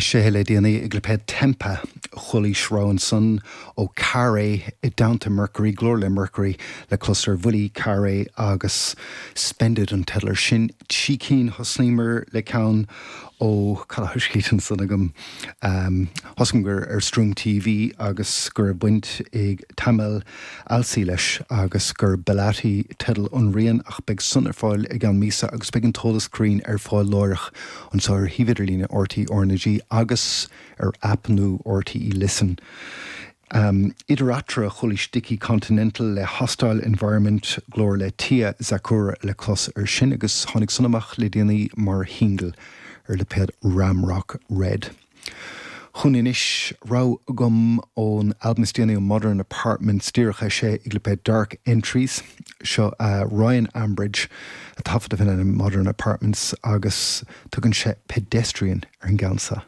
Eisithe le déanaí ag lipéad Tempa. Chualaís rogha ansan ó Carré i dteannta Mercury, glór le Mercury le clos ar bhuillí Carré agus Spend It an teideal ar sin. Trí cinn, thosnaíomar le ceann ó, cad a thoiscít ansan agam, thosaigh gur ar Stroom TV agus go raibh baint ag Tamel Alsey leis agus gur Belati teideal an rian ach beidh san ar fáil i gceann míosa agus beidh an t-eolas cruinn ar fáil láithreach anseo ar shuíomh idirlíne RTÉ RnaG agus ar aip nua RTÉ Listen. Idir eatarthu chualaís Dickie Continental le Hostile Environment, glór le Tia Zakura le clos ar sin agus tháinig san amach le déanaí mar shingil ar lipéad Ramrock Red. Chugainn anois, rogha agam ón albam is déanaí ó Modern Apartments, díreach eisithe ag lipéad Dark Entries. Seo Ryan Ambridge, a taifead a bhíonn in Modern Apartments agus tugann sé Pedestrian ar an gceann seo.